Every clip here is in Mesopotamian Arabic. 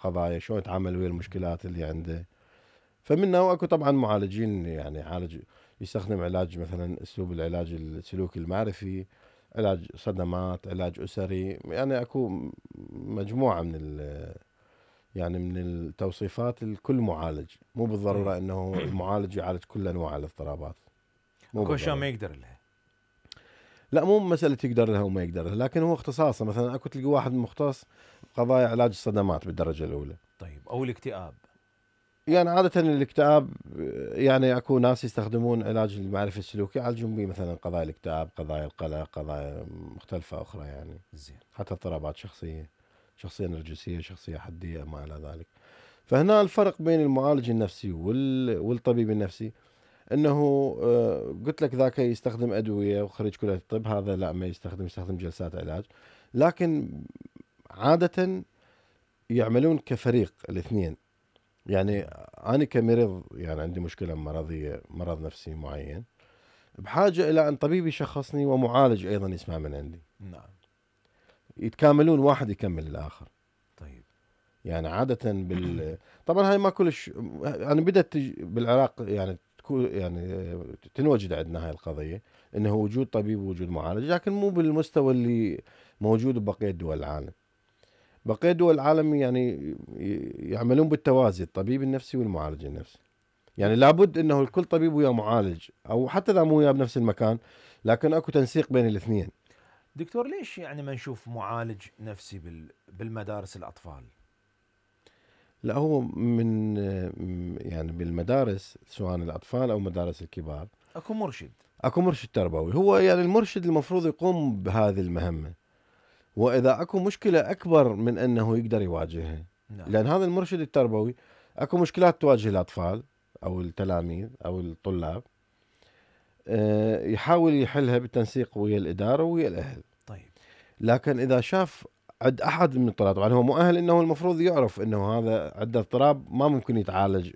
قضايا، شلون يتعامل ويا المشكلات اللي عنده. فمنه واكو طبعا معالجين يعني يعالج، يستخدم علاج مثلا اسلوب العلاج السلوكي المعرفي، علاج صدمات، علاج اسري، يعني اكو مجموعه يعني من التوصيفات لكل معالج. مو بالضروره انه المعالج يعالج كل انواع الاضطرابات، مو اكو اشياء بالضرورة. ما يقدر لها. لا مو مساله يقدر لها وما يقدر لها، لكن هو اختصاصه. مثلا اكو تلقى واحد مختص بقضايا علاج الصدمات بالدرجه الاولى. طيب او الاكتئاب. يعني عادة الاكتئاب، يعني اكو ناس يستخدمون علاج المعرفي السلوكي يعالجون به مثلا قضايا الاكتئاب، قضايا القلق، قضايا مختلفة اخرى يعني. زين. حتى اضطرابات شخصية، شخصية نرجسية، شخصية حدية، ما الى ذلك. فهنا الفرق بين المعالج النفسي والطبيب النفسي انه قلت لك ذاك يستخدم ادوية وخريج كلية الطب، هذا لا ما يستخدم جلسات علاج. لكن عادة يعملون كفريق الاثنين. يعني أنا كمريض يعني عندي مشكلة مرضية، مرض نفسي معين، بحاجة إلى أن طبيب يشخصني ومعالج أيضا يسمع من عندي. نعم. يتكاملون، واحد يكمل الآخر. طيب. يعني عادة طبعا هاي ما كلش يعني بدأت بالعراق يعني يعني تنوجد عندنا هاي القضية، انه وجود طبيب ووجود معالج، لكن مو بالمستوى اللي موجود ببقية دول العالم. بقية دول العالم يعني يعملون بالتوازي، الطبيب النفسي والمعالج النفسي. يعني لابد انه الكل طبيب ويا معالج، او حتى اذا مو وياه بنفس المكان، لكن اكو تنسيق بين الاثنين. دكتور ليش يعني ما نشوف معالج نفسي بالمدارس الاطفال؟ لا هو من يعني بالمدارس سواء الاطفال او مدارس الكبار اكو مرشد. اكو مرشد تربوي. هو يعني المرشد المفروض يقوم بهذه المهمة، واذا اكو مشكلة اكبر من انه يقدر يواجهها. نعم. لان هذا المرشد التربوي اكو مشكلات تواجه الاطفال او التلاميذ او الطلاب، يحاول يحلها بالتنسيق ويا الإدارة ويا الأهل. طيب. لكن إذا شاف عند أحد من الطلاب، طبعا هو مؤهل إنه المفروض يعرف إنه هذا عنده اضطراب ما ممكن يتعالج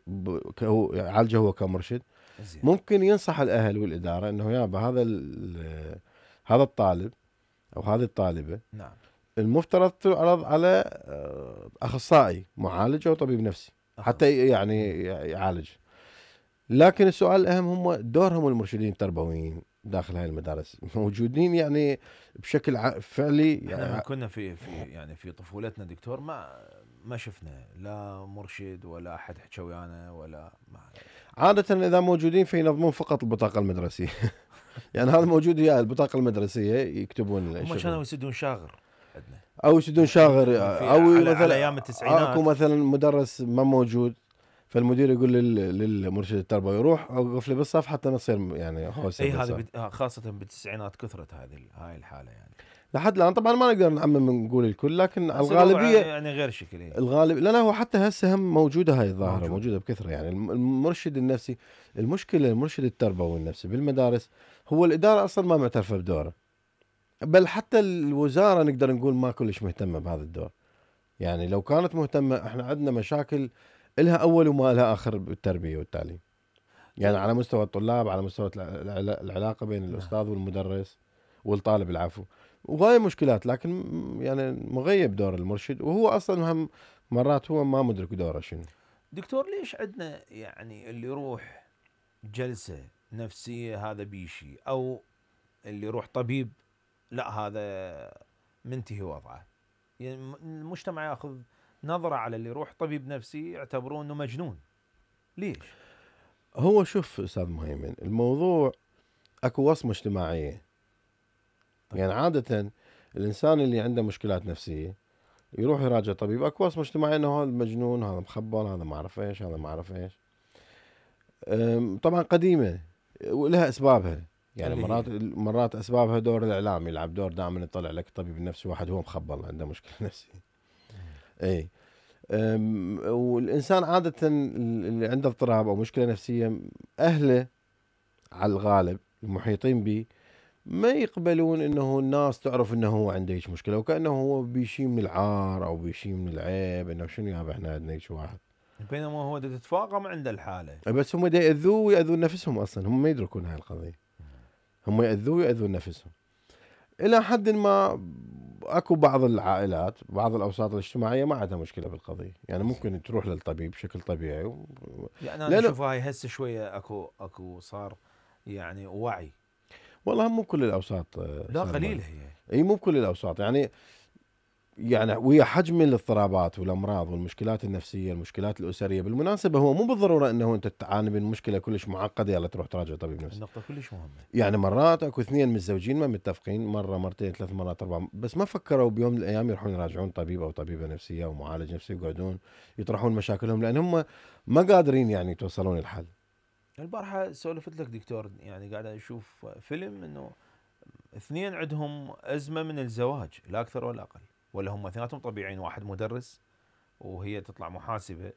يعالجه هو كمرشد. زين. ممكن ينصح الأهل والإدارة إنه يابا هذا الطالب أو هذه الطالبة نعم. المفترض تعرض على أخصائي معالج أو طبيب نفسي حتى يعني يعالج. لكن السؤال الأهم هم دورهم المرشدين التربويين داخل هاي المدارس موجودين يعني بشكل فعلي. احنا من كنا في طفولتنا دكتور ما شفنا لا مرشد ولا احد حكى ويانا ولا عادة إذا موجودين فينظمون فقط البطاقة المدرسية. يعني هذا موجود وياه البطاقة المدرسية يكتبون هم كانوا يسدون شاغر عندنا، أو يسدون شاغر، أو على مثلا ايام التسعينات أكو مثلا مدرس ما موجود، فالمدير يقول للمرشد التربوي روح اوقف لي بالصف حتى نصير يعني خوسه اي بالصف. هذه خاصة بالتسعينات كثرت هاي الحالة يعني. لحد الان طبعا ما نقدر نعمم نقول الكل، لكن الغالبية الغالبيه يعني غير شكل. الغالب لا هو حتى هسه هم موجوده هاي الظاهره موجودة بكثره. يعني المرشد النفسي، المشكله المرشد التربوي النفسي بالمدارس هو الاداره اصلا ما معترفه بدوره، بل حتى الوزاره نقدر نقول ما كلش مهتمه بهذا الدور. يعني لو كانت مهتمه، احنا عندنا مشاكل إلها اول وما لها اخر بالتربيه والتعليم. يعني على مستوى الطلاب، على مستوى العلاقه بين الاستاذ والمدرس والطالب، العفو، وهاي مشكلات. لكن يعني مغيب دور المرشد، وهو اصلا هم مرات هو ما مدرك دوره شنو. دكتور ليش عندنا يعني اللي يروح جلسة نفسية هذا بيشي، او اللي يروح طبيب لا هذا منتهي وضعه؟ يعني المجتمع ياخذ نظرة على اللي يروح طبيب نفسي يعتبروه انه مجنون. ليش؟ هو شوف استاذ مهيمن، الموضوع اكو وصمه اجتماعيه. طيب. يعني عاده الانسان اللي عنده مشكلات نفسيه يروح يراجع طبيب، اكو وصمه اجتماعيه انه هذا مجنون، هذا مخبل، هذا ما اعرف ايش، هذا ما اعرف ايش. طبعا قديمه ولها اسبابها. يعني مرات اسبابها دور الاعلام يلعب دور، دائما يطلع لك الطبيب النفسي واحد هو مخبل عنده مشكله نفسيه. اي. والانسان عاده اللي عنده اضطراب او مشكله نفسيه، اهله على الغالب المحيطين به ما يقبلون انه الناس تعرف انه هو عنده هيك مشكله، وكانه هو بيشي من العار او بيشي من العيب، انه شنو يابا احنا عندنا هيك واحد. بينما هو تتفاقم عنده الحالة. بس هم دا ياذوه وياذون نفسهم، اصلا هم ما يدركون هاي القضيه. هم ياذوه وياذون نفسهم الى حد ما. اكو بعض العائلات بعض الاوساط الاجتماعيه ما عندها مشكله بالقضيه، يعني ممكن تروح للطبيب بشكل طبيعي يعني انا لانه اشوف هاي هسه شويه اكو صار يعني وعي. والله مو كل الاوساط لا صار قليله هي. اي مو كل الاوساط يعني ويا حجم الاضطرابات والامراض والمشكلات النفسيه المشكلات الاسريه، بالمناسبه هو مو بالضروره انه انت تعاني من مشكله كلش معقده يلا تروح تراجع طبيب نفسي. النقطه كلش مهمه. يعني مرات اكو اثنين متزوجين ما متفقين مره مرتين ثلاث مرات اربع، بس ما فكروا بيوم من الايام يروحون يراجعون طبيب او طبيبه نفسيه او معالج نفسي يقعدون يطرحون مشاكلهم، لان هم ما قادرين يعني يتوصلون الحل. البارحه سولفت لك دكتور، يعني قاعد اشوف فيلم انه اثنين عندهم ازمه من الزواج لا اكثر ولا اقل، ولا هم اثنيناتهم طبيعيين، واحد مدرس وهي تطلع محاسبه،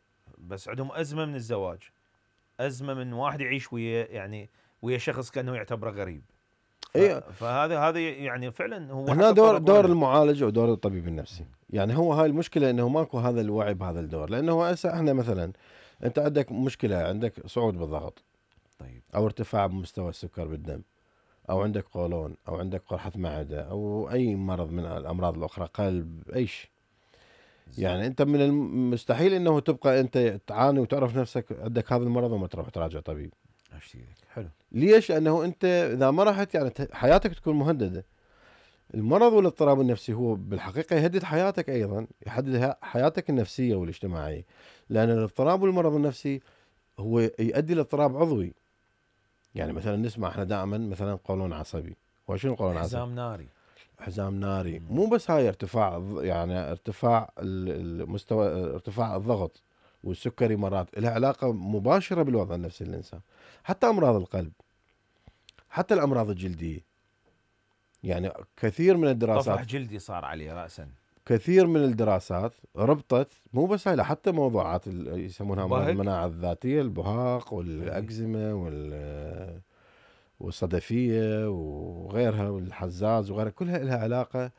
بس عندهم ازمه من الزواج، ازمه من واحد يعيش ويا يعني ويا شخص كانه يعتبره غريب. اي فهذا يعني فعلا هو هنا حتى دور لنا. المعالج ودور الطبيب النفسي. يعني هو هاي المشكله انه ماكو هذا الوعي بهذا الدور، لانه هو هسه احنا مثلا انت عندك مشكله، عندك صعود بالضغط طيب. او ارتفاع بمستوى السكر بالدم او عندك قولون او عندك قرحه معده او اي مرض من الامراض الاخرى، قلب، اي شيء. يعني انت من المستحيل انه تبقى انت تعاني وتعرف نفسك عندك هذا المرض وما تروح تراجع طبيب. اشتريك حلو. ليش؟ لانه انت اذا ما رحت يعني حياتك تكون مهدده. المرض والاضطراب النفسي هو بالحقيقه يهدد حياتك ايضا، يحدد حياتك النفسيه والاجتماعيه، لان الاضطراب والمرض النفسي هو يؤدي لاضطراب عضوي. يعني مثلا نسمع احنا دائما مثلا قولون عصبي، وشنو قولون عصبي؟ حزام ناري. حزام ناري. مو بس هاي ارتفاع يعني ارتفاع المستوى، ارتفاع الضغط والسكري مرات لها علاقة مباشرة بالوضع النفسي للإنسان. حتى أمراض القلب، حتى الأمراض الجلدية، يعني كثير من الدراسات طفح جلدي صار عليه رأسا. كثير من الدراسات ربطت مو بس هاي حتى موضوعات يسمونها أمراض بهك. المناعة الذاتية، البهاق إيه. والأكزيما والصدفية وغيرها والحزاز وغيرها، كلها لها علاقة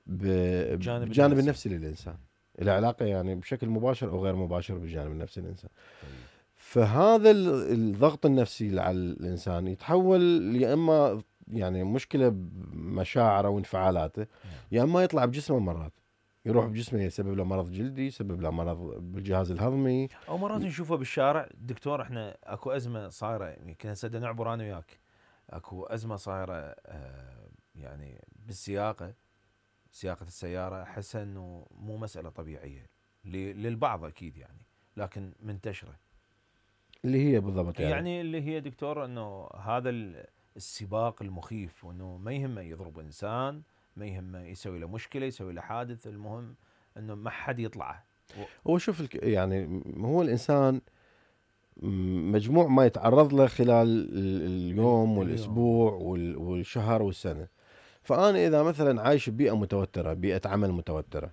بالجانب النفسي للإنسان. لها علاقة يعني بشكل مباشر أو غير مباشر بالجانب النفسي للإنسان. طيب. فهذا الضغط النفسي على الإنسان يتحول يا إما يعني مشكلة بمشاعره وانفعالاته، يا إما يطلع بجسمه مرات، يروح بجسمه يسبب له مرض جلدي، يسبب له مرض بالجهاز الهضمي. او مرات نشوفه بالشارع دكتور، احنا اكو ازمه صايره يمكن هسه نعبر انا وياك، اكو ازمه صايره يعني بالسياقه، سياقه السياره، احس انه مو مساله طبيعيه للبعض اكيد يعني، لكن منتشره. اللي هي بالضبط يعني اللي هي دكتور انه هذا السباق المخيف، وانه ما يهمه يضرب انسان، ما يهمه يسوي له مشكله، يسوي له حادث، المهم انه ما حد يطلعه. هو شوف يعني هو الإنسان مجموع ما يتعرض له خلال اليوم والأسبوع والشهر والسنة. فأنا إذا مثلا عايش ببيئة متوترة، بيئة عمل متوترة،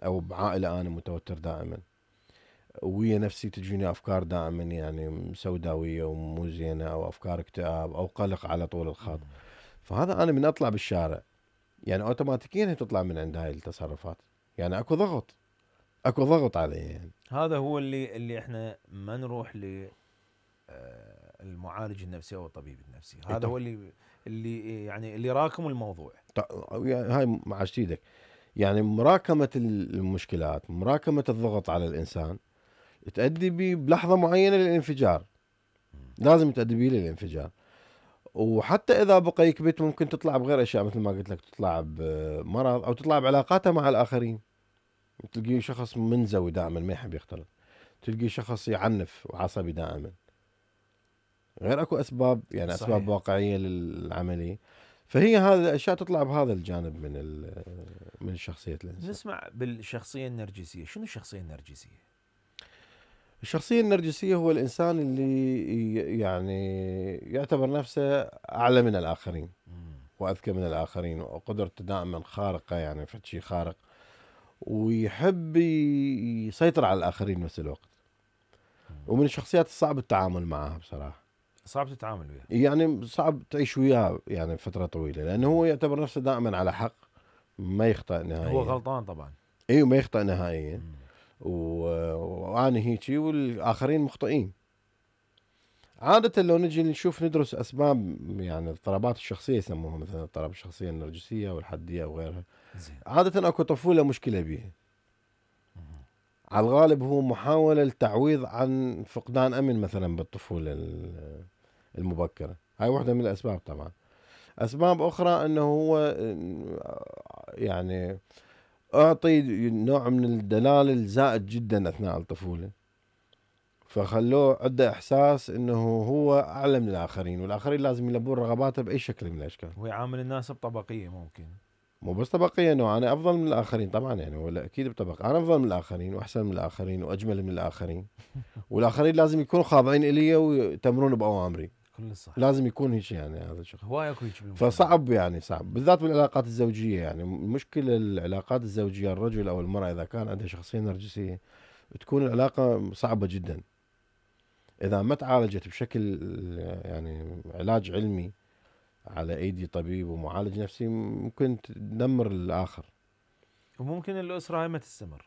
أو بعائلة أنا متوتر دائما، ويا نفسي تجيني أفكار دائما يعني سوداوية ومو زينة، أو أفكار اكتئاب أو قلق على طول الخط، فهذا أنا من أطلع بالشارع يعني أوتوماتيكيا هي تطلع من عند هاي التصرفات. يعني أكو ضغط علي يعني. هذا هو اللي احنا ما نروح المعالج النفسي او الطبيب النفسي، هذا هو اللي يعني اللي راكم الموضوع. يعني هاي مع ايدك، يعني مراكمة المشكلات، مراكمة الضغط على الإنسان تؤدي بيه بلحظة معينة للانفجار، لازم تؤدي بيه للانفجار. وحتى إذا بقى يكبت ممكن تطلع بغير أشياء، مثل ما قلت لك تطلع بمرض أو تطلع بعلاقاته مع الآخرين. تلقي شخص منزوي دائما ما يحب يختلط، تلقي شخص يعنف وعصبي دائما، غير اكو اسباب يعني صحيح. اسباب واقعيه للعمليه. فهي هذه الاشياء تطلع بهذا الجانب من شخصيه الانسان. نسمع بالشخصيه النرجسيه، شنو الشخصيه النرجسيه؟ الشخصيه النرجسيه هو الانسان اللي يعني يعتبر نفسه اعلى من الاخرين واذكى من الاخرين، وقدرته دائما خارقه، يعني في شيء خارق، ويحب يسيطر على الاخرين بنفس الوقت. ومن الشخصيات الصعب التعامل معها بصراحه، صعب تتعامل وياه، يعني صعب تعيش وياه يعني فترة طويلة، لأنه هو يعتبر نفسه دائما على حق، ما يخطئ نهائيا. هو غلطان طبعا. ايوه ما يخطئ نهائيا. وانا هيجي والآخرين مخطئين. عادة لو نجي نشوف ندرس أسباب يعني اضطرابات الشخصية، يسموها مثلا اضطراب الشخصية النرجسية والحدية وغيرها، زين. عادة اكو طفولة مشكلة بيها، على الغالب هو محاولة للتعويض عن فقدان امن مثلا بالطفولة المبكرة. هاي واحدة من الاسباب. طبعا اسباب اخرى انه هو يعني اعطي نوع من الدلال الزائد جدا اثناء الطفولة، فخلوه عنده احساس انه هو اعلى من الاخرين، والاخرين لازم يلبون رغباته باي شكل من الاشكال. ويعامل الناس بطبقية ممكن. مو بس طبقية، انه انا افضل من الاخرين طبعا، يعني ولا اكيد بطبقة انا افضل من الاخرين واحسن من الاخرين واجمل من الاخرين، والاخرين لازم يكونوا خاضعين الي ويتمرون باوامري. كل صح. لازم يكون هيك، يعني هذا الشخص. هواي اكو هيك بالمجتمع. فصعب، يعني صعب بالذات بالعلاقات الزوجية. يعني مشكلة العلاقات الزوجية، الرجل او المرأة اذا كان عنده شخصية نرجسية تكون العلاقة صعبة جدا اذا ما تعالجت بشكل يعني علاج علمي على ايدي طبيب ومعالج نفسي، ممكن تدمر الاخر. وممكن الأسرة هاي ما تستمر.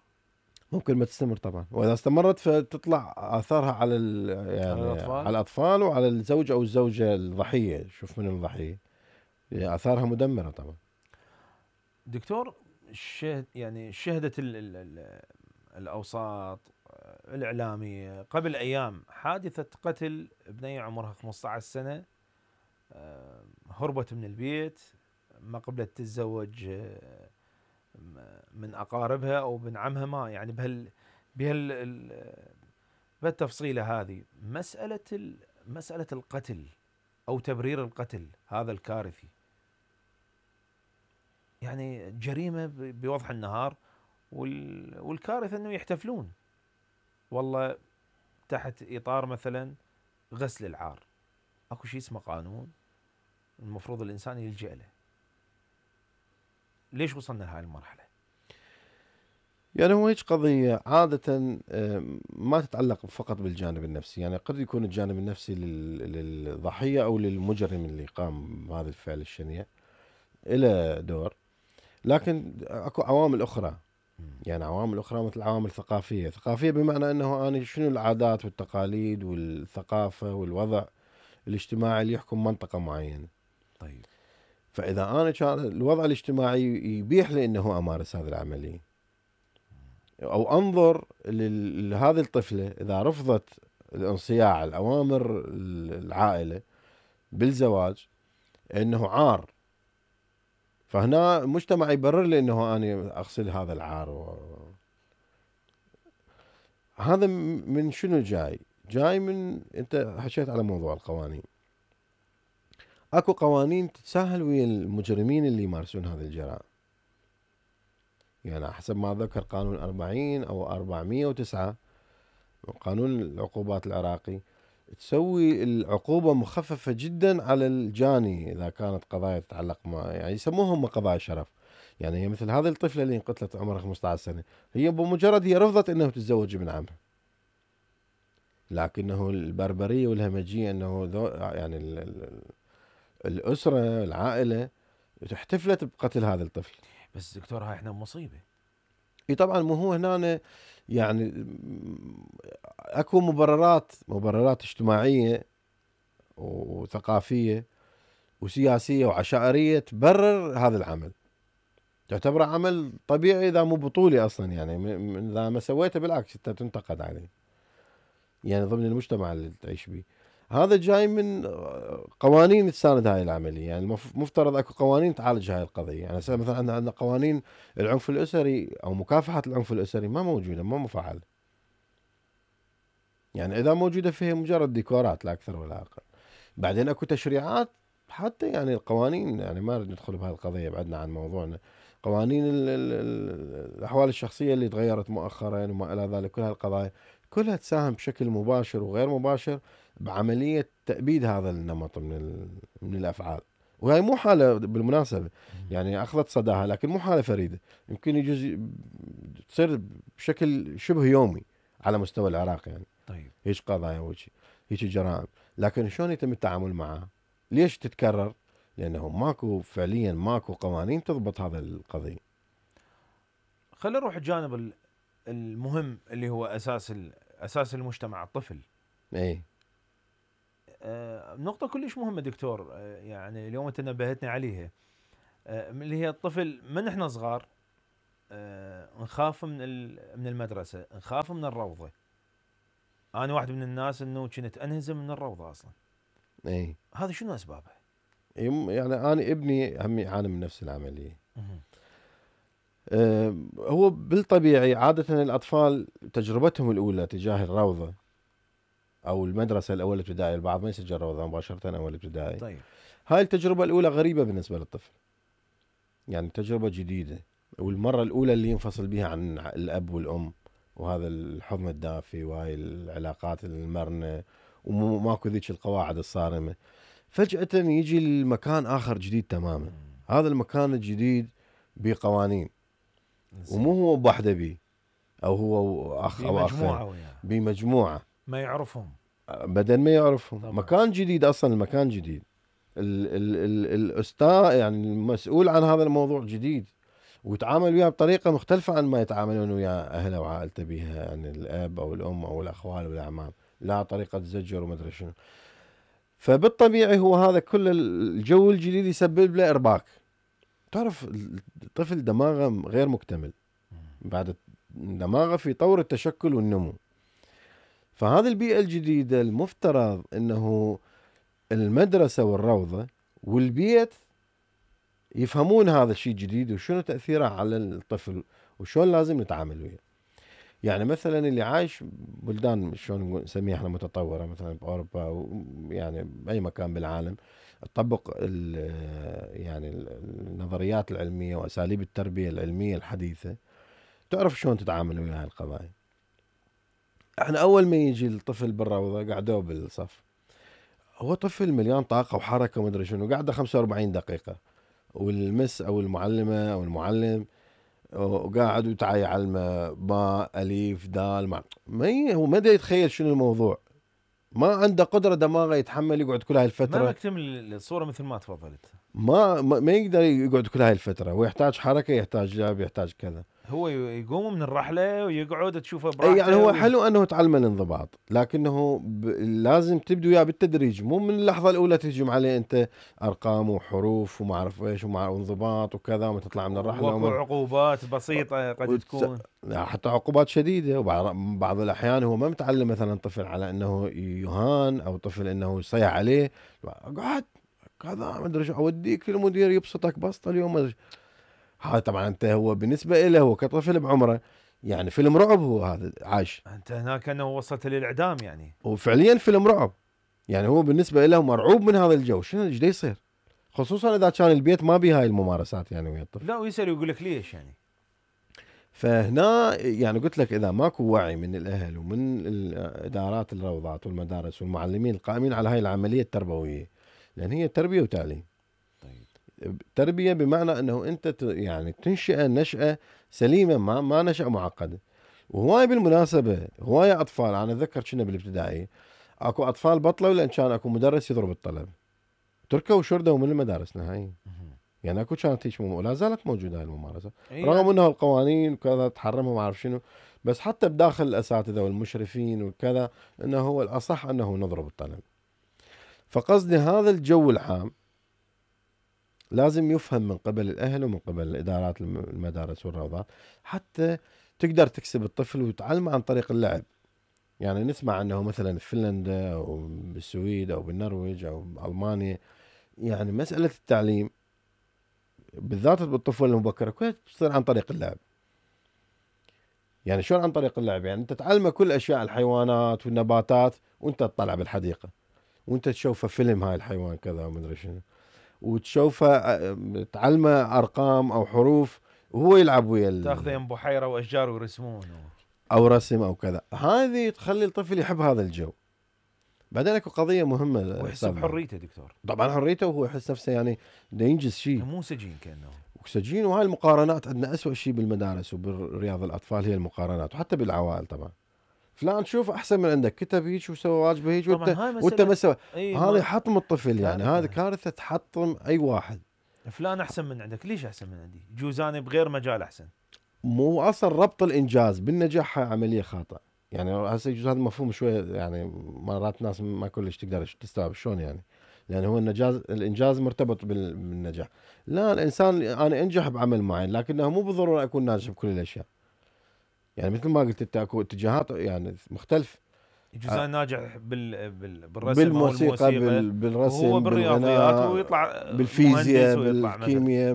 ممكن ما تستمر طبعا، واذا استمرت فتطلع اثارها على على يعني الأطفال. على الاطفال وعلى الزوج او الزوجه الضحيه. شوف من الضحيه، اثارها مدمره طبعا. دكتور، يعني شهدت الأوساط الإعلامية قبل أيام حادثة قتل بنية عمرها 15 سنة، هربت من البيت، ما قبلت تتزوج من أقاربها أو بن عمها، ما يعني بهالتفصيلة هذه. مسألة القتل أو تبرير القتل هذا الكارثي، يعني جريمة بوضح النهار، والكارثة أنه يحتفلون والله تحت إطار مثلا غسل العار. أكو شيء اسمه قانون المفروض الإنسان يلجأ له. ليش وصلنا لهاي المرحلة؟ يعني هو هيك قضيه عاده ما تتعلق فقط بالجانب النفسي. يعني قد يكون الجانب النفسي للضحيه او للمجرم اللي قام بهذا الفعل الشنيع له دور، لكن اكو عوامل اخرى. يعني عوامل أخرى مثل عوامل ثقافية بمعنى أنه أنا شنو العادات والتقاليد والثقافة والوضع الاجتماعي اللي يحكم منطقة معينة. طيب. فإذا أنا كان الوضع الاجتماعي يبيح لي أنه أمارس هذه العملية، أو أنظر لهذه الطفلة إذا رفضت الانصياع الأوامر العائلة بالزواج أنه عار، فهنا المجتمع يبرر لي أنه أنا أغسل هذا العار. هذا من شنو جاي من انت حكيت على موضوع القوانين. اكو قوانين تتساهل ويا المجرمين اللي يمارسون هذه الجرائم. يعني حسب ما ذكر قانون 40 او 409 قانون العقوبات العراقي، تسوي العقوبة مخففة جدا على الجاني اذا كانت قضايا تتعلق يعني يسموهم قضايا شرف. يعني هي مثل هذه الطفلة اللي انقتلت عمرها 15 سنة، هي بمجرد هي رفضت انه تتزوج ابن عمها، لكنه البربرية والهمجية أنه يعني الأسرة العائلة احتفلت بقتل هذا الطفل. بس دكتور هاي احنا مصيبة. اي طبعا، مو هو هنا يعني اكو مبررات اجتماعية وثقافية وسياسية وعشائرية تبرر هذا العمل، تعتبره عمل طبيعي اذا مو بطولي اصلا. يعني اذا ما سويته بالعكس انت تنتقد عليه، يعني ضمن المجتمع اللي تعيش به. هذا جاي من قوانين تساند هاي العملية. يعني مفترض اكو قوانين تعالج هاي القضية. يعني مثلا عندنا قوانين العنف الأسري او مكافحة العنف الأسري ما موجودة، ما مفعلة. يعني اذا موجودة فيها مجرد ديكورات لا اكثر ولا اقل. بعدين اكو تشريعات حتى، يعني القوانين، يعني ما نريد ندخل بهاي القضية بعدنا عن موضوعنا. قوانين الأحوال الشخصية اللي تغيرت مؤخرا وما إلى ذلك، كل هالقضايا كلها تساهم بشكل مباشر وغير مباشر بعملية تأبيد هذا النمط من الأفعال. وهي مو حالة بالمناسبة، يعني أخذت صداها، لكن مو حالة فريدة. يمكن يجوز تصير بشكل شبه يومي على مستوى العراق. يعني طيب. هيك قضايا هيك جرائم، لكن شلون يتم التعامل معها؟ ليش تتكرر؟ لأنه ماكو قوانين تضبط هذا القضية. خلينا نروح الجانب المهم اللي هو أساس المجتمع، الطفل. ايه نقطة كلش مهمة دكتور، يعني اليوم أنت نبهتني عليها. اللي هي الطفل من احنا صغار نخاف من المدرسه، نخاف من الروضه. انا واحد من الناس انه كنت انهزم من الروضه اصلا. اي هذا شنو اسبابها؟ يعني انا ابني هم يعاني من نفس العمليه. مهم. هو بالطبيعي عاده الاطفال تجربتهم الاولى تجاه الروضه او المدرسه الاول ابتدائي، البعض ما يسجل روضه مباشره اول ابتدائي. طيب هاي التجربه الاولى غريبه بالنسبه للطفل، يعني تجربه جديده، والمره الاولى اللي ينفصل بها عن الاب والام، وهذا الحضن الدافي وهاي العلاقات المرنه وماكو ذيك القواعد الصارمه. فجاه يجي المكان اخر جديد تماما. هذا المكان الجديد بقوانين، ومو هو بوحده بيه، او هو اخ او اخين، بمجموعه وياه بمجموعه ما يعرفهم. بدل ما يعرفهم طبعا. مكان جديد، اصلا المكان جديد. الاستاذ يعني المسؤول عن هذا الموضوع جديد، ويتعامل وياه بطريقه مختلفه عن ما يتعاملون ويا اهله وعائلته بها، يعني الاب او الام او الاخوال والاعمام، لا طريقه زجر وما ادري شنو. فبالطبيعي هو هذا كل الجو الجديد يسبب له ارباك. تعرف الطفل دماغه غير مكتمل، بعد دماغه في طور التشكل والنمو. فهذه البيئة الجديدة المفترض انه المدرسة والروضة والبيت يفهمون هذا الشيء الجديد وشنو تأثيره على الطفل وشون لازم نتعامل وياه. يعني مثلا اللي عايش بلدان شلون نسميها احنا متطورة، مثلا بأوروبا يعني بأي مكان بالعالم، تطبق يعني النظريات العلمية وأساليب التربية العلمية الحديثة، تعرف شلون تتعامل ويا هاي القضايا. احنا اول ما يجي الطفل بالروضة قعدوه بالصف، هو طفل مليان طاقة وحركة وما ادري شنو، قاعده 45 دقيقة، والمس او المعلمة او المعلم وقاعد وتعا يعلمه باء الف دال هو ما يتخيل شنو الموضوع، ما عنده قدرة دماغه يتحمل يقعد كل هاي الفترة، ما مكتمل الصوره مثل ما تفضلت. ما يقدر يقعد كل هاي الفترة، ويحتاج حركة، يحتاج لعب، يحتاج كذا. هو يقوم من الرحله ويقعد تشوفه اي براحته. يعني هو حلو انه تعلم الانضباط، لكنه لازم تبدو وياه بالتدريج، مو من اللحظه الاولى تهجم عليه انت ارقام وحروف وما اعرف ايش وانضباط وكذا وما تطلع من الرحله وكو عقوبات بسيطه قد تكون، حتى عقوبات شديده. وبعض الاحيان هو ما متعلم مثلا طفل على انه يهان، او طفل انه يصيح عليه، قعد كذا ما ادري شو اوديك المدير يبسطك بسطه اليوم. هذا طبعا انت هو بالنسبه له هو كطفل بعمره يعني فيلم رعب، هو هذا عايش انت هناك انه وصلت للاعدام يعني. هو فعليا فيلم رعب، يعني هو بالنسبه له مرعوب من هذا الجو، شنو ايش يصير، خصوصا اذا كان البيت ما به هاي الممارسات يعني ويا الطفل. لا ويسال ويقول لك ليش يعني. فهنا يعني قلت لك اذا ماكو وعي من الاهل ومن الادارات الروضات والمدارس والمعلمين القائمين على هاي العمليه التربويه، لان هي تربيه وتعليم. طيب. تربيه بمعنى انه انت يعني تنشئ نشأة سليمه، ما نشأة معقده. وهواي بالمناسبه هواي اطفال، انا اتذكر كنا بالابتدائي اكو اطفال بطلوا لان كان اكو مدرس يضرب الطلب، تركوا وشردوا من المدارس نهائيا. يعني اكو كانت هيك ولا زالت موجوده هاي الممارسه، رغم انه القوانين وكذا تحرمها وما اعرف شنو، بس حتى بداخل الاساتذه والمشرفين وكذا انه هو الاصح انه نضرب الطلب. فقصدي هذا الجو العام لازم يفهم من قبل الاهل ومن قبل الادارات المدارس والروضات، حتى تقدر تكسب الطفل وتعلمه عن طريق اللعب. يعني نسمع انه مثلا في فنلندا او بالسويد او بالنرويج او بالمانيا، يعني مساله التعليم بالذات بالطفوله المبكره كلها تصير عن طريق اللعب. يعني شلون عن طريق اللعب؟ يعني انت تعلمه كل اشياء الحيوانات والنباتات وانت تطلع بالحديقه، وانت تشوفه فيلم هاي الحيوان كذا وما ادري شنو، وتشوفه تعلمه ارقام او حروف وهو يلعب ويا تاخذه يم بحيره واشجار ويرسمون او رسم او كذا. هذه تخلي الطفل يحب هذا الجو. بعدين اكو قضيه مهمه ويحس بحريته دكتور. طبعا حريته، وهو يحس نفسه يعني دا ينجز شيء، مو سجين كانه. وسجين. وهاي المقارنات عندنا أسوأ شيء بالمدارس وبالرياض الاطفال، هي المقارنات، وحتى بالعوائل طبعا. فلان شوف احسن من عندك، كتب هيك وسوى واجبه هيك وانت ما سوى. هذا يحطم الطفل، يعني هذه كارثه تحطم اي واحد. فلان احسن من عندك، ليش احسن من عندي؟ جوز انا بغير مجال احسن. مو اصلا ربط الانجاز بالنجاح عمليه خاطئه. يعني هسه يجوز هذا المفهوم شويه، يعني مرات ناس ما كلش تقدر تستوعب شلون يعني. لان هو الانجاز مرتبط بالنجاح. لا، الانسان انا انجح بعمل معين لكنه مو بالضروره اكون ناجح بكل الاشياء. يعني مثل ما قلت انت اكو اتجاهات يعني مختلفه. يجوز انا ناجح بالرسم او بالموسيقى، الموسيقى وهو بالرسم، بالرياضيات بالغناء، ويطلع بالفيزياء، مهندس ويطلع مثلا. بالكيمياء،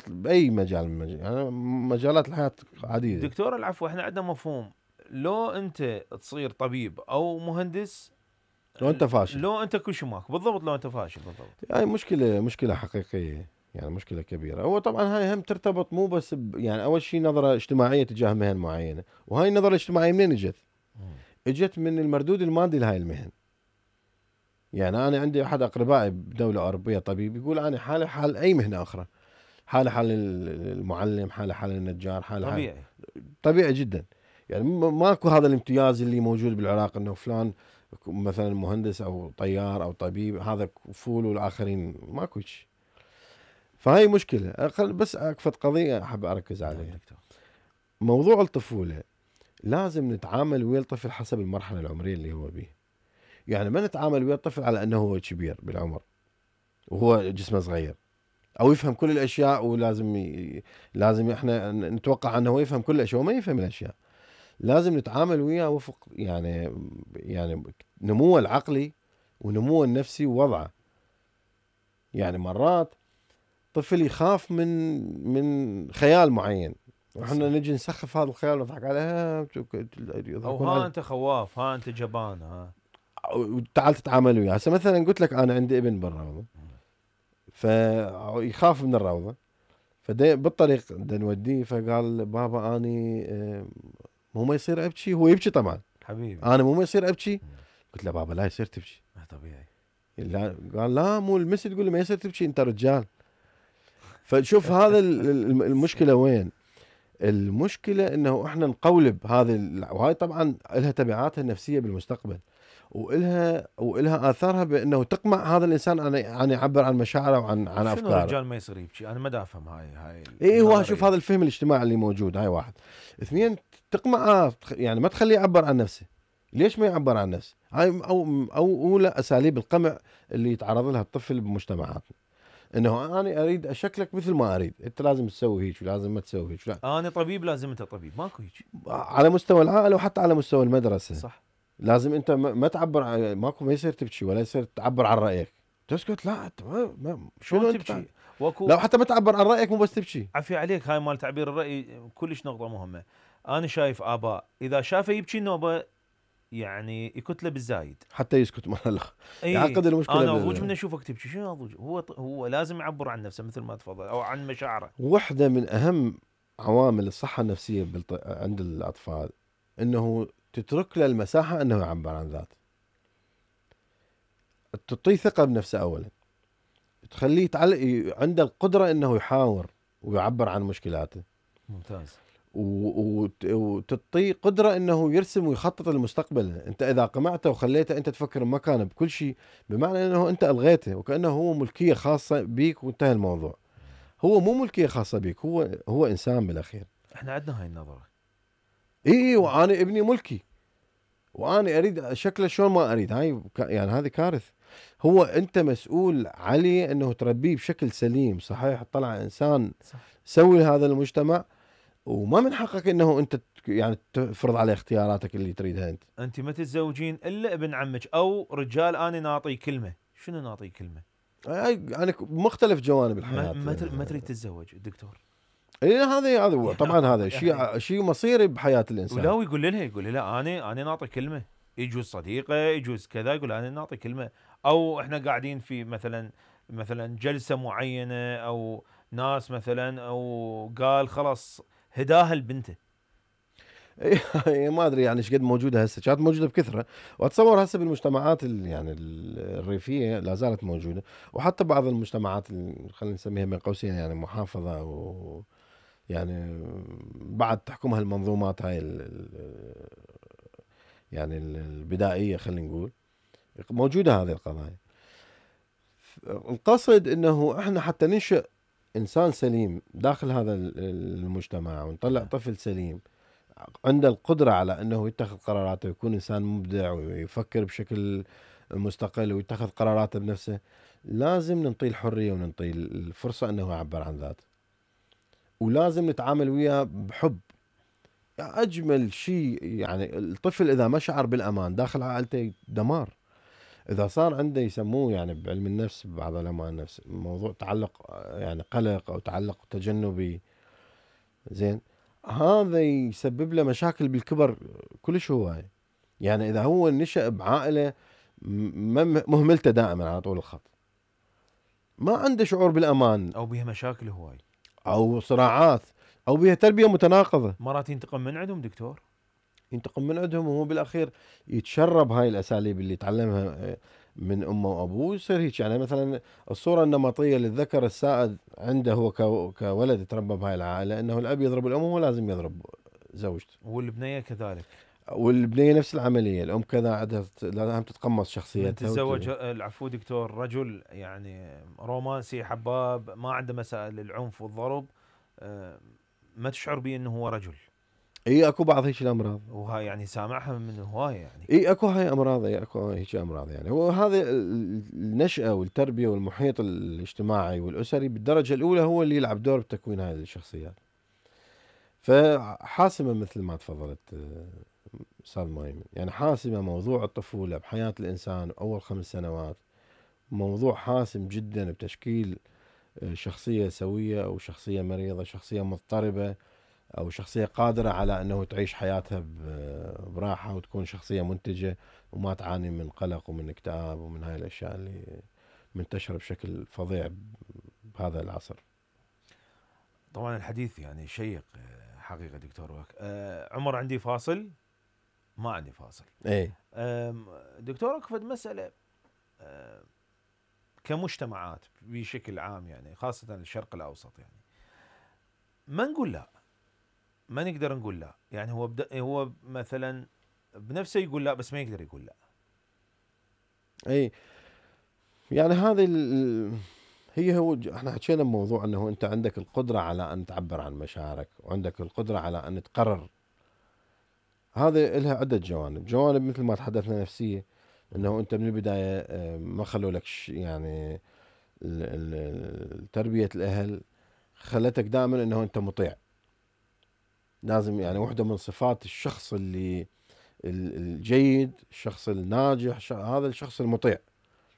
باي مجال من يعني مجالات الحياه عديده. دكتور العفو، احنا عندنا مفهوم لو انت تصير طبيب او مهندس، لو انت فاشل، لو انت كل شيء ماك بالضبط، لو انت فاشل بالضبط. هاي مشكله حقيقيه، يعني مشكله كبيره. هو طبعا هاي هم ترتبط مو بس يعني اول شيء نظره اجتماعيه تجاه مهن معينه، وهاي النظره الاجتماعيه منين اجت؟ اجت من المردود المادي لهاي المهن. يعني انا عندي احد اقربائي بدوله اوروبيه طبيب، يقول انا حالي حال اي مهنه اخرى، حالي حال المعلم، حالي حال النجار، حالي حال طبيعي. طبيعي جدا. يعني ماكو هذا الامتياز اللي موجود بالعراق انه فلان مثلا مهندس او طيار او طبيب هذا فول والاخرين ماكو شيء. فهاي مشكله. بس اكفت قضيه احب اركز نعم عليها، دكتور. موضوع الطفوله. لازم نتعامل ويا الطفل حسب المرحله العمريه اللي هو بيه. يعني ما نتعامل ويا الطفل على انه هو كبير بالعمر وهو جسمه صغير، او يفهم كل الاشياء، ولازم لازم احنا نتوقع انه هو يفهم كل الاشياء وما يفهم الاشياء. لازم نتعامل وياه وفق يعني نموه العقلي ونموه النفسي ووضعه. يعني مرات طفل يخاف من خيال معين، واحنا نجي نسخف هذا الخيال ونضحك عليه، او يضحكون ها عليه. انت خواف، ها انت جبان، ها. تعال تتعامل وياه. هسه مثلا قلت لك انا عندي ابن بالروضه، فيخاف من الروضه، بالطريق بدنا نوديه، فقال بابا اني مو ما يصير ابكي. هو يبكي طبعا، حبيبي. انا مو ما يصير ابكي. قلت له بابا لا يصير تبكي. طبيعي. لا، قال لا، مو المس تقول له ما يصير تبكي، انت رجال. فشوف هذا المشكله وين؟ المشكله انه احنا نقولب هذه وهاي طبعا لها تبعاتها النفسيه بالمستقبل، والها اثارها بانه تقمع هذا الانسان ان يعبر عن مشاعره وعن شنو افكاره. الرجال ما يصير يبكي؟ انا ما دا افهم هاي اي هو النظرية. شوف هذا الفهم الاجتماعي اللي موجود، هاي واحد. اثنين، تقمع يعني ما تخليه يعبر عن نفسه. ليش ما يعبر عن نفسه؟ هاي او اولى اساليب القمع اللي يتعرض لها الطفل بمجتمعاتنا، انه انا اريد اشكلك مثل ما اريد، انت لازم تسوي هيك ولازم ما تسوي هيك. لا. انا طبيب لازم انت طبيب، ماكو هيك. على مستوى العائله وحتى على مستوى المدرسه. صح. لازم انت ما تعبر ماكو، ما يصير تبكي ولا يصير تعبر عن رايك، تسكت. لا انت شنو انت تبكي؟ واكو لو حتى ما تعبر عن رايك، مو بس تبكي. عفي عليك، هاي مال تعبير الراي كلش نقطه مهمه. انا شايف اباء اذا شافه يبكي النوبه يعني يكتله بالزايد حتى يسكت مره لا اي. يعقد المشكله. انا اضوج من اشوفك تبكي، شنو اضوج؟ هو لازم يعبر عن نفسه مثل ما تفضل، او عن مشاعره. واحدة من أهم عوامل الصحة النفسية عند الأطفال أنه تترك له المساحة أنه يعبر عن ذاته، تعطيه ثقة بنفسه أولا، تخليه عنده القدرة أنه يحاور ويعبر عن مشكلاته. ممتاز. وتعطيه قدرة أنه يرسم ويخطط لمستقبله. أنت إذا قمعته وخليته أنت تفكر بمكانه بكل شيء، بمعنى أنه أنت ألغيته وكأنه هو ملكية خاصة بيك وانتهى الموضوع. هو مو ملكية خاصة بيك، هو إنسان بالأخير. احنا عندنا هاي النظره. اي، وانا ابني ملكي وانا اريد شكله شلون ما اريد. هاي يعني هذه كارثه. هو انت مسؤول عليه انه تربيه بشكل سليم صحيح، طلع انسان صح. سوي هذا المجتمع، وما من حقك انه انت يعني تفرض عليه اختياراتك اللي تريدها انت. انت ما تتزوجين الا ابن عمك او رجال، انا ناطي كلمه. شنو ناطي كلمه؟ هاي يعني مختلف جوانب الحياه. ما تريد تتزوج الدكتور؟ اي هذا طبعا هذا يعني شيء مصيري بحياه الانسان. ولا يقول لها انا ناطي كلمه. يجوز صديقه، يجوز كذا، يقول انا ناطي كلمه. او احنا قاعدين في مثلا جلسه معينه، او ناس مثلا، او قال خلاص هداها لبنته. ما ادري يعني ايش قد موجوده هسه، كانت موجوده بكثره، واتصور هسه بالمجتمعات يعني الريفيه لا زالت موجوده، وحتى بعض المجتمعات خلينا نسميها بين قوسين يعني محافظه، او يعني بعد تحكمها المنظومات هاي يعني البدائيه خلينا نقول، موجوده هذه القضايا. القصد انه احنا حتى ننشئ انسان سليم داخل هذا المجتمع، ونطلع طفل سليم عنده القدرة على أنه يتخذ قراراته ويكون إنسان مبدع ويفكر بشكل مستقل ويتخذ قراراته بنفسه، لازم ننطيه الحرية وننطيه الفرصة انه يعبر عن ذاته، ولازم نتعامل وياه بحب. اجمل شيء يعني الطفل اذا ما شعر بالامان داخل عائلته دمار. اذا صار عنده يسموه يعني بعلم النفس، بعض علماء النفس، موضوع تعلق يعني قلق او تعلق تجنبي، زين، هذا يسبب له مشاكل بالكبر كلش هواية. يعني اذا هو نشأ بعائلة مهملته دائما على طول الخط، ما عنده شعور بالامان، او بيها مشاكل هواي، او صراعات، او بها تربية متناقضة، مرات ينتقم من عندهم دكتور، ينتقم من عندهم، وهو بالاخير يتشرب هاي الاساليب اللي تعلمها من امه وابوه، يصير هيك. يعني مثلا الصوره النمطيه للذكر السائد عنده هو كولد يتربى بهاي العائله، انه الاب يضرب الام وهو لازم يضرب زوجته، والبنيه كذلك. والبنيه نفس العمليه، الام كذا عندها لازم تتقمص من شخصيتها تتزوج العفو دكتور رجل يعني رومانسي حباب ما عنده مسائل العنف والضرب، ما تشعر بيه انه هو رجل. اي اكو بعض هيك الامراض، وهاي يعني سامعها من هوايه يعني. اي اكو هاي امراض، اي اكو هيك امراض. يعني هو هذا النشأة والتربية والمحيط الاجتماعي والاسري بالدرجة الاولى هو اللي يلعب دور بتكوين هاي الشخصيات. فحاسمة مثل ما تفضلت استاذ مايمن، يعني حاسمة موضوع الطفولة بحياة الانسان اول 5 سنوات، موضوع حاسم جدا بتشكيل شخصية سوية او شخصية مريضة، شخصية مضطربة، او شخصية قادرة على انه تعيش حياتها براحة وتكون شخصية منتجة وما تعاني من قلق ومن اكتئاب ومن هاي الاشياء اللي منتشرة بشكل فظيع بهذا العصر. طبعا الحديث يعني شيق حقيقه دكتور عمر، عندي فاصل؟ ما عندي فاصل. ايه دكتور اكفد مساله كمجتمعات بشكل عام يعني خاصه الشرق الاوسط، يعني ما نقول لا، ما نقدر نقول لا، يعني هو مثلا بنفسه يقول لا بس ما يقدر يقول لا. ايه يعني هذه هو احنا حكينا بموضوع انه انت عندك القدرة على ان تعبر عن مشاعرك، وعندك القدرة على ان تقرر. هذا لها عدة جوانب مثل ما تحدثنا نفسية، انه انت من البداية ما خلوا لك يعني تربية الاهل خلتك دائما انه انت مطيع. لازم يعني واحدة من صفات الشخص اللي الجيد، الشخص الناجح، هذا الشخص المطيع،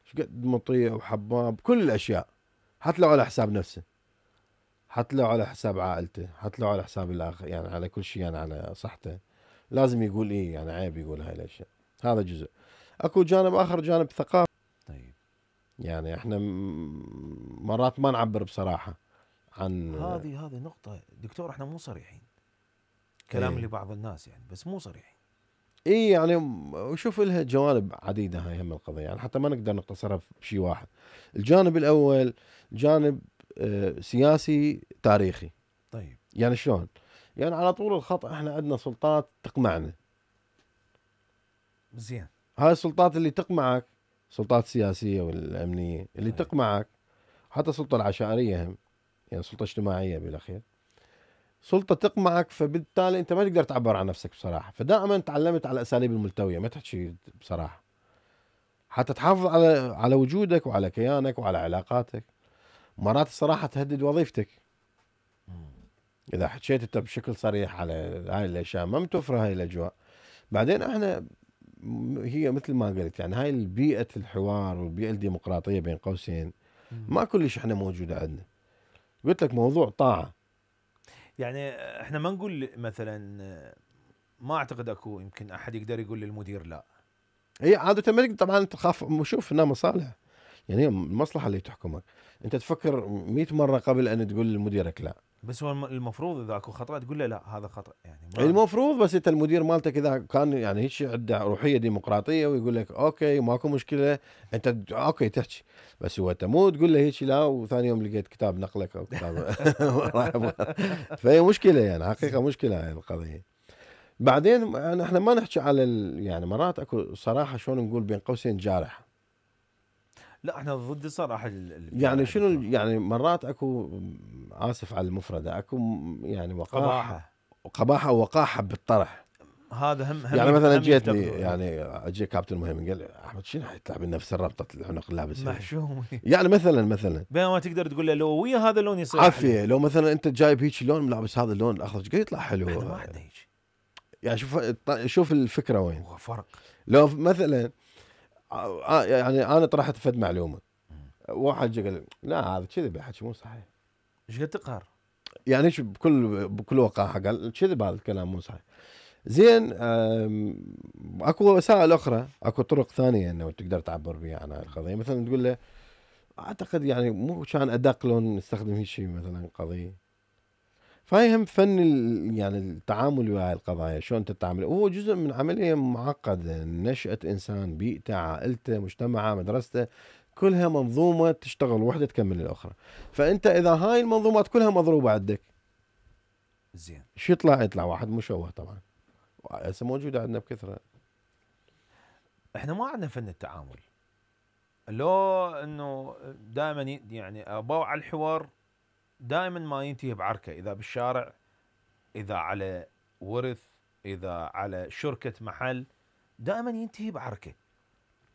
شقد مطيع وحباب كل الاشياء، حتى لو على حساب نفسه، حتى لو على حساب عائلته، حتى لو على حساب الاخر، يعني على كل شيء، يعني على صحته لازم يقول ايه، يعني عيب يقول هاي الاشياء. هذا جزء. اكو جانب اخر، جانب ثقافي. طيب يعني احنا مرات ما نعبر بصراحة عن هذه نقطه دكتور، احنا مو صريحين كلام ايه لبعض الناس يعني، بس مو صريحين. ايه يعني وشوف لها جوانب عديدة هاي هم القضية، يعني حتى ما نقدر نقتصرها بشيء واحد. الجانب الاول جانب سياسي تاريخي. طيب يعني شلون؟ يعني على طول الخط احنا عندنا سلطات تقمعنا. زين. هاي السلطات اللي تقمعك، سلطات سياسية والأمنية اللي طيب. تقمعك، حتى السلطة العشائرية هم، يعني سلطة اجتماعية بالأخير، سلطة تقمعك، فبالتالي أنت ما تقدر تعبر عن نفسك بصراحة. فدائما تعلمت على الأساليب الملتوية، ما تحكي بصراحة، حتى تحافظ على وجودك وعلى كيانك وعلى علاقاتك. مرات الصراحة تهدد وظيفتك إذا حكيت أنت بشكل صريح على هاي الأشياء، ما متوفرة هاي الأجواء. بعدين احنا هي مثل ما قلت، يعني هاي البيئة الحوار والبيئة الديمقراطية بين قوسين ما كلش احنا موجودة عندنا. قلت لك موضوع طاعة. يعني احنا ما نقول مثلا، ما اعتقد اكو يمكن احد يقدر يقول للمدير لا. هي عادة ما طبعا انت تخاف، شوف هنا مصالح، يعني هي المصلحة اللي تحكمك. انت تفكر 100 مرة قبل ان تقول لمديرك لا. بس هو المفروض اذا اكو خطأ تقول له لا هذا خطأ، يعني ما المفروض، بس انت المدير مالتك اذا كان يعني هيك عنده روحية ديمقراطية ويقول لك اوكي ماكو مشكلة، انت اوكي تحكي. بس هو انت مو تقول له هيك لا، وثاني يوم لقيت كتاب نقلك او كتاب فهي مشكلة، يعني حقيقة مشكلة هاي القضية. بعدين يعني احنا ما نحكي على يعني مرات اكو صراحة شلون نقول بين قوسين جارح. لا احنا ضد الصراحة يعني الجارحة شنو دكتور. يعني مرات اكو اسف على المفردة، اكو يعني وقاحة، قباحة. قباحة ووقاحة بالطرح. هذا هم يعني مثلا هم جيتني يفتقدوا. يعني اجي كابتن مهم قال لي احمد شنو حيطلع بنفس الربطه العنق لابسها محشوم. يعني مثلا بينما تقدر تقول له لو ويا هذا اللون يصير عافيه أحلى. لو مثلا انت جايب هيك لون ملابس هذا اللون الاخضر قال يطلع حلو احنا ما عندنا هيك. يعني شوف الفكره وين. هو فرق. لو مثلا يعني انا طرحت فد معلومه واحد جا قال لي لا هذا كذب بيحكي مو صحيح ايش قد تقهر؟ يعني ايش بكل وقاحه قال كذب هذا الكلام مو صحيح. زين اكو وسائل اخرى اكو طرق ثانيه انه تقدر تعبر بها عن هاي القضيه مثلا تقول له اعتقد يعني مو كان ادق لون نستخدم هيك شيء مثلا قضيه. فهي هم فن يعني التعامل ويا هاي القضايا شلون تتعامل وهو جزء من عمليه معقده نشأة انسان بيئته عائلته مجتمعه مدرسته كلها منظومه تشتغل وحده تكمل الاخرى. فانت اذا هاي المنظومات كلها مضروبه عندك زين شو يطلع واحد مشوه طبعا هسه موجوده عندنا بكثره. احنا ما عندنا فن التعامل. لو انه دائما يعني ابو على الحوار دائما ما ينتهي بعركه، اذا بالشارع، اذا على ورث، اذا على شركه محل، دائما ينتهي بعركه.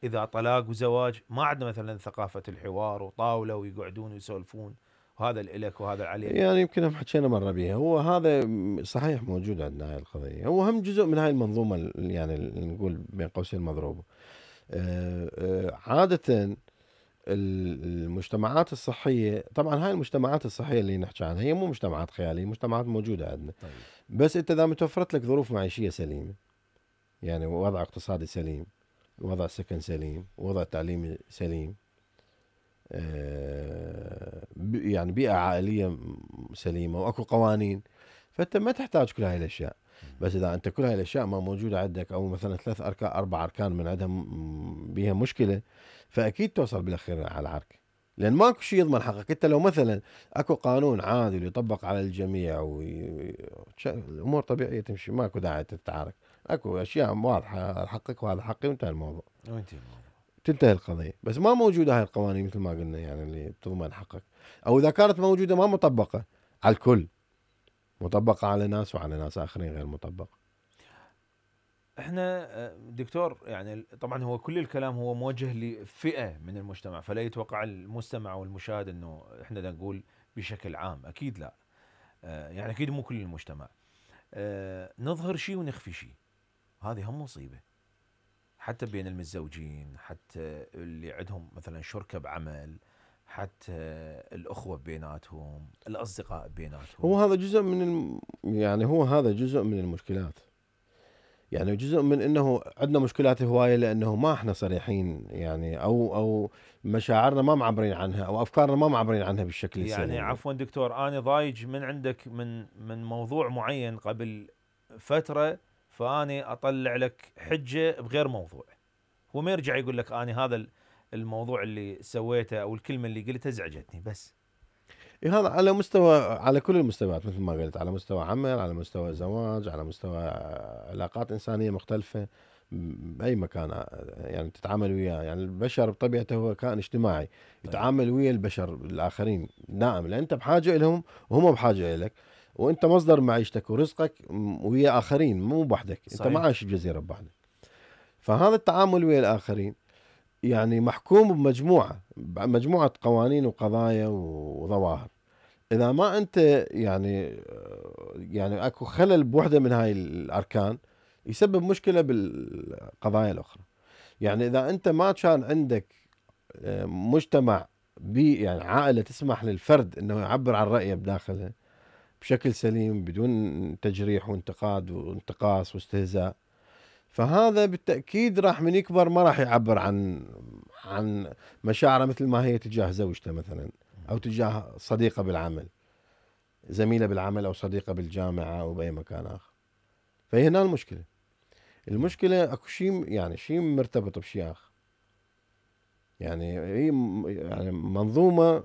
اذا طلاق وزواج ما عندنا مثلا ثقافه الحوار وطاوله ويقعدون ويسولفون وهذا الك وهذا عليك. يعني يمكن هم حكينا مره بيها هو هذا صحيح موجود عندنا هاي القضيه هو هم جزء من هاي المنظومه يعني نقول بين قوسين مضروبه. عاده المجتمعات الصحيه طبعا هاي المجتمعات الصحيه اللي نحكي عنها هي مو مجتمعات خياليه مجتمعات موجوده عندنا. طيب. بس انت اذا متوفرت لك ظروف معيشيه سليمه يعني وضع اقتصادي سليم وضع سكن سليم وضع تعليمي سليم يعني بيئة عائلية سليمة واكو قوانين فانت ما تحتاج كل هاي الاشياء. بس اذا انت كل هاي الاشياء ما موجودة عندك او مثلا 3 اركان 4 اركان من عندها بيها مشكلة فاكيد توصل بالاخير على العرك لان ماكو شيء يضمن حقك. انت لو مثلا اكو قانون عادل يطبق على الجميع الامور طبيعية تمشي ماكو داعي تتعارك اكو اشياء واضحة حقك وهذا حقي وانتهى الموضوع. وانتهي الموضوع. تنتهي القضية. بس ما موجودة هاي القوانين مثل ما قلنا يعني اللي تضمن حقك او اذا كانت موجودة ما مطبقة على الكل مطبقة على ناس وعلى ناس اخرين غير مطبقة. احنا دكتور يعني طبعا هو كل الكلام هو موجه لفئة من المجتمع، فلا يتوقع المستمع والمشاهد انه احنا دا نقول بشكل عام، اكيد لا. يعني اكيد مو كل المجتمع. نظهر شيء ونخفي شيء، هذه هم مصيبة. حتى بين المتزوجين، حتى اللي عندهم مثلا شركة بعمل، حتى الأخوة بيناتهم، الأصدقاء بيناتهم. هو هذا جزء من يعني هو هذا جزء من المشكلات يعني جزء من انه عندنا مشكلات هوايه لانه ما احنا صريحين يعني او مشاعرنا ما معبرين عنها او افكارنا ما معبرين عنها بالشكل السليم. يعني عفوا دكتور، أنا ضايج من عندك من موضوع معين قبل فترة، فأني أطلع لك حجة بغير موضوع، هو ما يرجع يقول لك أنا هذا الموضوع اللي سويته أو الكلمة اللي قلتها ازعجتني بس. إيه هذا على مستوى على كل المستويات مثل ما قلت على مستوى عمل على مستوى زواج على مستوى علاقات إنسانية مختلفة بأي مكان يعني تتعامل وياه يعني البشر بطبيعته هو كائن اجتماعي يتعامل ويا البشر الآخرين دائما لأن أنت بحاجة لهم وهم بحاجة إليك وأنت مصدر معيشتك ورزقك ويا آخرين مو بوحدك. أنت ما عايش بجزيرة بوحدك. فهذا التعامل ويا الآخرين يعني محكوم بمجموعة قوانين وقضايا وظواهر. إذا ما أنت يعني أكو خلل بوحدة من هاي الأركان يسبب مشكلة بالقضايا الأخرى. يعني إذا أنت ما كان عندك مجتمع يعني عائلة تسمح للفرد أنه يعبر عن رأيه بداخلها بشكل سليم بدون تجريح وانتقاد وانتقاص واستهزاء فهذا بالتأكيد راح من يكبر ما راح يعبر عن مشاعره مثل ما هي تجاه زوجته مثلا أو تجاه صديقة بالعمل زميلة بالعمل أو صديقة بالجامعة أو بأي مكان آخر. فهي هنا المشكلة أكو شيء يعني شيء مرتبط بشيء آخر يعني هي يعني منظومة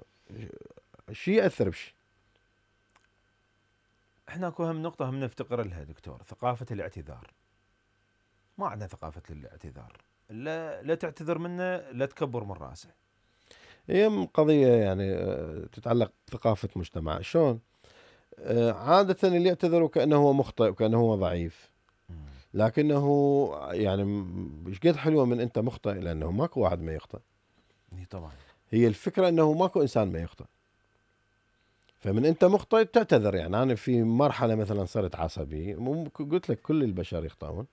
شيء يأثر بشيء. احنا اكو هم نقطة هم نفتقر لها دكتور، ثقافة الاعتذار. ما عندنا ثقافة الاعتذار، لا تعتذر منه لا تكبر من راسه. هي قضية يعني تتعلق بثقافة مجتمع شلون عادة اللي يعتذر وكأنه هو مخطئ وكأنه هو ضعيف لكنه يعني ايش قد حلوه من انت مخطئ، لانه ماكو واحد ما يخطئ. طبعا. هي الفكره انه ماكو انسان ما يخطئ. فمن انت مخطئ تعتذر. يعني انا في مرحله مثلا صرت عصبي، قلت لك كل البشر يخطئون.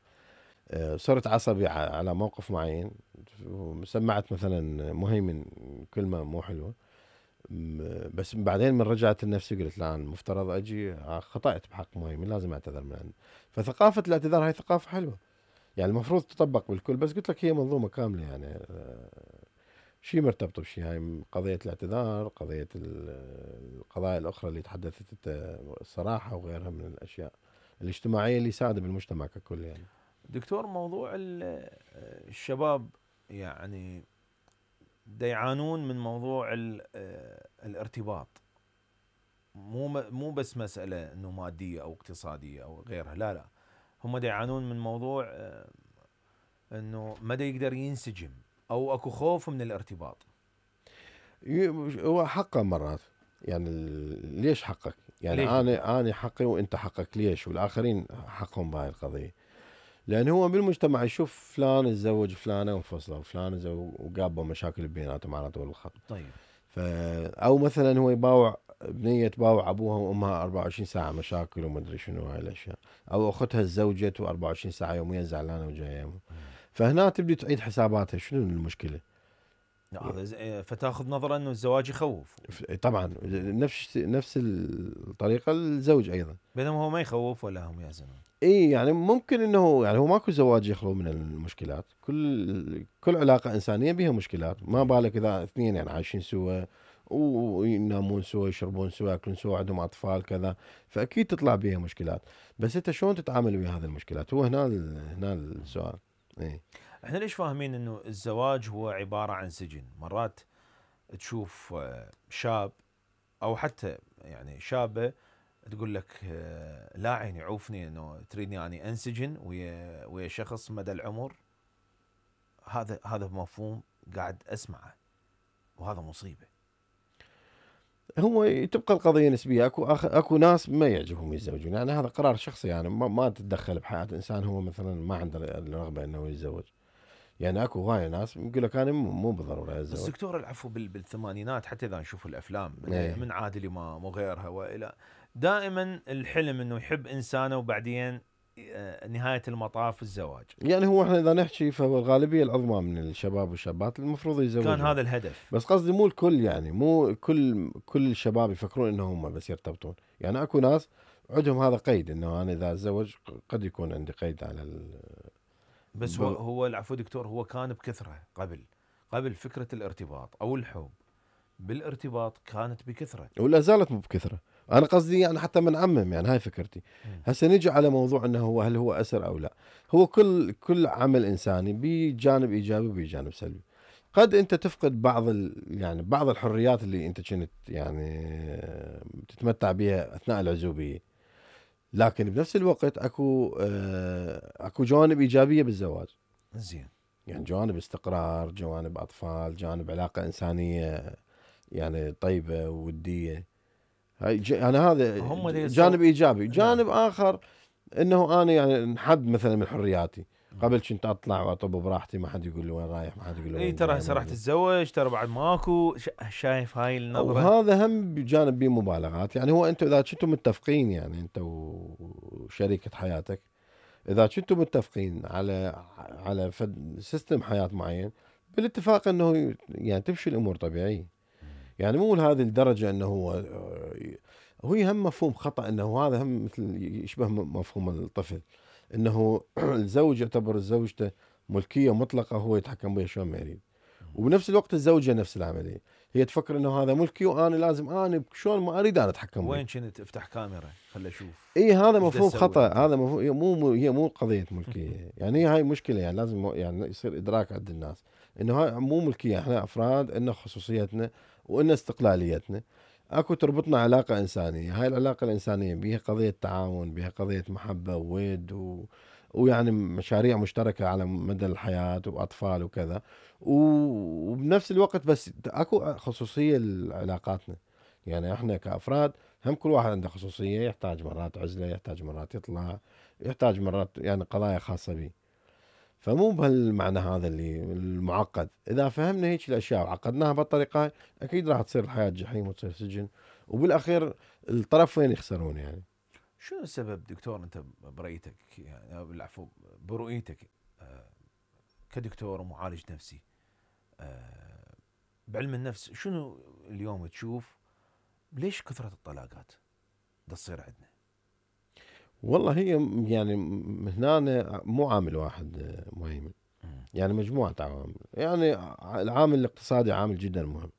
صرت عصبي على موقف معين، سمعت مثلا مهيمن كلمه مو حلوه، بس بعدين من رجعت لنفسي قلت لا، أنا المفترض اجي خطأت بحق مهيمن، لازم اعتذر من عنده. فثقافه الاعتذار هاي ثقافه حلوه، يعني المفروض تطبق بالكل. بس قلت لك هي منظومه كامله، يعني شيء مرتبط بشيء. هاي قضيه الاعتذار، قضيه القضايا الاخرى اللي تحدثت انت، الصراحه وغيرها من الاشياء الاجتماعيه اللي يساعد بالمجتمع ككل. يعني دكتور، موضوع الشباب يعني دا يعانون من موضوع الارتباط. مو بس مسألة انه مادية او اقتصادية او غيرها، لا لا، هم دا يعانون من موضوع انه ما دا يقدر ينسجم، او اكو خوف من الارتباط. هو حقه مرات، يعني ليش حقك؟ يعني ليش دكتور؟ انا حقي وانت حقك، ليش والاخرين حقهم بهاي القضيه؟ لان هو بالمجتمع يشوف فلان تزوج فلانه وانفصلوا، وفلان وقابوا مشاكل بيناتهم معناته بالخط. طيب. او مثلا هو يباوع بنيه، تباوع ابوها وامها 24 ساعه مشاكل ومدري شنو هاي الاشياء، او اختها تزوجت و24 ساعه يوميا زعلانه وجايه. فهنا تبدي تعيد حساباتها، شنو المشكله؟ لا، هذا فتاخذ نظرة انه الزواج يخوف، طبعا نفس الطريقه الزوج ايضا. بينما هو ما يخوف ولا هم يحزنون. اي يعني ممكن انه، يعني هو ماكو زواج يخلو من المشكلات. كل علاقه انسانيه بها مشكلات، ما بالك اذا اثنين يعني عايشين سوا وينامون سوا، يشربون سوا، ياكلون سوا، عندهم اطفال كذا، فاكيد تطلع بها مشكلات. بس انت شلون تتعامل ويا هذه المشكلات؟ هو هنا السؤال. اي احنا ليش فاهمين انه الزواج هو عبارة عن سجن؟ مرات تشوف شاب او حتى يعني شابة تقول لك لا عيني عوفني، انه تريدني اني انسجن ويا شخص مدى العمر. هذا مفهوم قاعد اسمعه، وهذا مصيبة. هو تبقى القضيه نسبيه. اكو ناس ما يعجبهم يتزوجون، يعني هذا قرار شخصي، يعني ما تتدخل بحياه انسان هو مثلا ما عنده الرغبه انه يتزوج. يعني اكو هواي ناس يقول لك انا مو بالضروره بس اتزوج. دكتور، العفو، بالثمانينات حتى اذا نشوف الافلام ايه من عادل امام وغيرها والى، دائما الحلم انه يحب انسانه وبعدين نهاية المطاف الزواج. يعني هو احنا اذا نحكي، فهو الغالبيه العظمى من الشباب والشابات المفروض كان يتزوجون. هذا الهدف. بس قصدي مو الكل، يعني مو كل الشباب يفكرون انهم هم بس يرتبطون. يعني اكو ناس عندهم هذا قيد، انه انا اذا اتزوج قد يكون عندي قيد على بس هو العفو دكتور، هو كان بكثرة قبل فكرة الارتباط او الحب بالارتباط كانت بكثرة. ولا زالت مو بكثره. انا قصدي يعني حتى من عمم، يعني هاي فكرتي. هسه نجي على موضوع انه هل هو اسر او لا. هو كل عمل انساني بجانب ايجابي وبجانب سلبي. قد انت تفقد يعني بعض الحريات اللي انت كنت يعني تتمتع بها اثناء العزوبيه، لكن بنفس الوقت اكو جوانب ايجابيه بالزواج. زين. يعني جوانب استقرار، جوانب اطفال، جانب علاقه انسانيه يعني طيبه ووديه. انا هذا هم جانب ايجابي. نعم. جانب اخر انه انا يعني انحد مثلا من حرياتي. قبل كنت اطلع واطب براحتي، ما حد يقول لي وين رايح، ما حد يقول لي اي وين ترى جاي، هسه ما راح حد. تتزوج، ترى بعد ماكو شايف هاي النظرة. وهذا هم بجانب بيه مبالغات. يعني هو انتم اذا كنتم متفقين، يعني انت وشريكة حياتك، اذا كنتم متفقين على سيستم حياة معين، بالاتفاق انه يعني تمشي الامور طبيعية. يعني مو لهذه الدرجة انه هو هم مفهوم خطأ، انه هذا هم مثل يشبه مفهوم الطفل، انه الزوج يعتبر زوجته ملكية مطلقة، هو يتحكم بها شلون ما يريد. وبنفس الوقت الزوجة نفس العملية، هي تفكر انه هذا ملكي وانا لازم انا شلون ما اريد انا اتحكم به. وين كنت افتح كاميرا خل اشوف اي هذا ايش دا مفهوم تسوي خطأ. انت. هذا مفهوم، هي مو قضية ملكية. يعني هي هاي مشكلة. يعني لازم يعني يصير ادراك عند الناس انه هاي مو ملكية. احنا افراد، ان خصوصيتنا وان استقلاليتنا. اكو تربطنا علاقة انسانية. هاي العلاقة الانسانية بيها قضية تعاون، بيها قضية محبة وود ويعني مشاريع مشتركة على مدى الحياة واطفال وكذا. وبنفس الوقت بس اكو خصوصية لعلاقاتنا. يعني احنا كافراد هم كل واحد عنده خصوصية، يحتاج مرات عزلة، يحتاج مرات يطلع، يحتاج مرات يعني قضايا خاصة به. فمو بهالمعنى هذا اللي المعقد. اذا فهمنا هيك الاشياء وعقدناها بهالطريقة هاي اكيد راح تصير الحياة جحيم وتصير سجن، وبالاخير الطرفين يخسرون يعني. شنو السبب دكتور انت برأيتك يعني العفو برؤيتك كدكتور ومعالج نفسي بعلم النفس، شنو اليوم تشوف ليش كثرة الطلاقات دا تصير عندنا؟ والله هي يعني هنا مو عامل واحد مهم، يعني مجموعة عوامل. يعني العامل الاقتصادي عامل جدا مهم.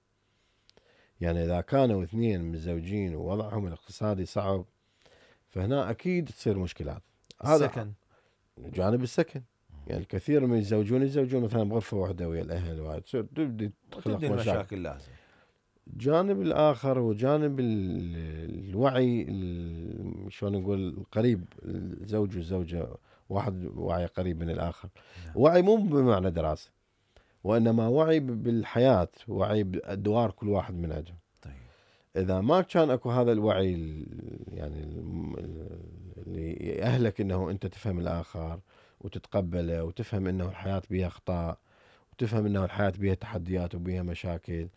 يعني إذا كانوا اثنين متزوجين ووضعهم الاقتصادي صعب فهنا أكيد تصير مشكلات. هذا السكن، جانب السكن. يعني الكثير من يتزوجون مثلا بغرفة واحدة ويا الأهل، وتصير تبدي تخلق وتبدي مشاكل. المشاكل لازم. الجانب الآخر هو جانب الوعي، شلون نقول، القريب، الزوج والزوجة واحد وعي قريب من الآخر. نعم. وعي مو بمعنى دراسة، وإنما وعي بالحياة، وعي بأدوار كل واحد من عندهم. طيب. إذا ما كان أكو هذا الوعي يعني اللي يأهلك إنه أنت تفهم الآخر وتتقبله، وتفهم إنه الحياة بها أخطاء، وتفهم إنه الحياة بها تحديات وبها مشاكل،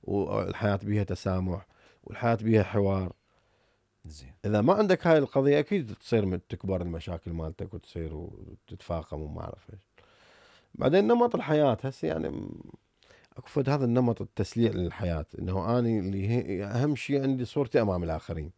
والحياة بها تسامح، والحياة بها حوار. زين. إذا ما عندك هاي القضية أكيد تصير تكبر المشاكل مالتك وتصير وتتفاقم وما أعرف إيش. بعدين نمط الحياة هسه يعني اكو فد هذا النمط التسليع للحياة، انه اني اللي هي اهم شيء عندي صورتي امام الاخرين،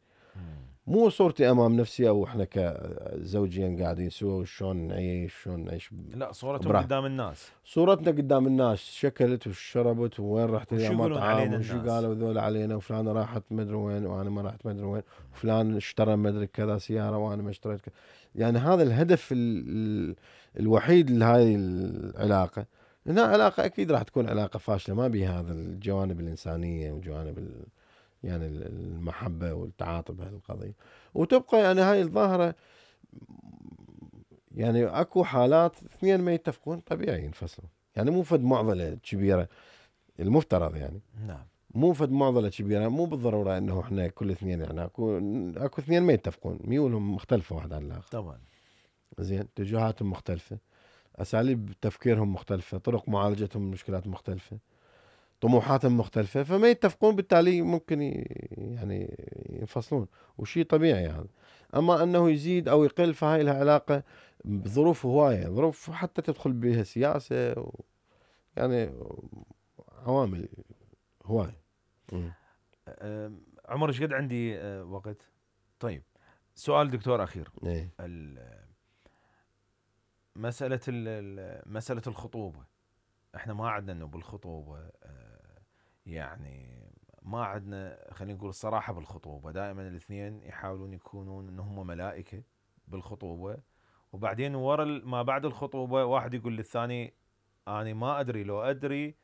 مو صورتي امام نفسي، او احنا كزوجين قاعدين سوا وشلون نعيش شلون نعيش. لا، صورتهم قدام الناس، صورتنا قدام الناس، شكلت وشربت وين رحت الى يقولون مطعم، علينا وشو الناس. قالوا ذول علينا، وفلانة راحت مدري وين وانا ما رحت مدري وين، وفلان اشترى مدري كذا سيارة وانا ما اشتريت كذا. يعني هذا الهدف الوحيد لهذه العلاقة. هنا علاقة أكيد راح تكون علاقة فاشلة، ما بها هذا الجوانب الإنسانية وجوانب يعني المحبة والتعاطف بهالقضية. وتبقى يعني هاي الظاهرة، يعني أكو حالات اثنين ما يتفقون طبيعي ينفصلوا. يعني مو فد معضلة كبيرة المفترض، يعني نعم، مو فد معضلة كبيرة، مو بالضرورة إنه إحنا كل اثنين، يعني أكو اثنين ما يتفقون، ميولهم مختلفة واحد عن الآخر. طبعا. زين، اتجاهاتهم مختلفة، أساليب تفكيرهم مختلفة، طرق معالجتهم المشكلات مختلفة، طموحاتهم مختلفة، فما يتفقون، بالتالي ممكن يعني ينفصلون، وشي طبيعي هذا. أما أنه يزيد أو يقل فهاي لها علاقة بظروف هواية، ظروف حتى تدخل بها سياسة يعني عوامل هواية. عمر ايش قد عندي وقت؟ طيب، سؤال دكتور أخير. ايه. مسألة الخطوبة، احنا ما عندنا انه بالخطوبة يعني ما عندنا، خلينا نقول الصراحة بالخطوبة. دائما الاثنين يحاولون يكونون ان هم ملائكة بالخطوبة، وبعدين ورا ما بعد الخطوبة واحد يقول للثاني انا ما ادري، لو ادري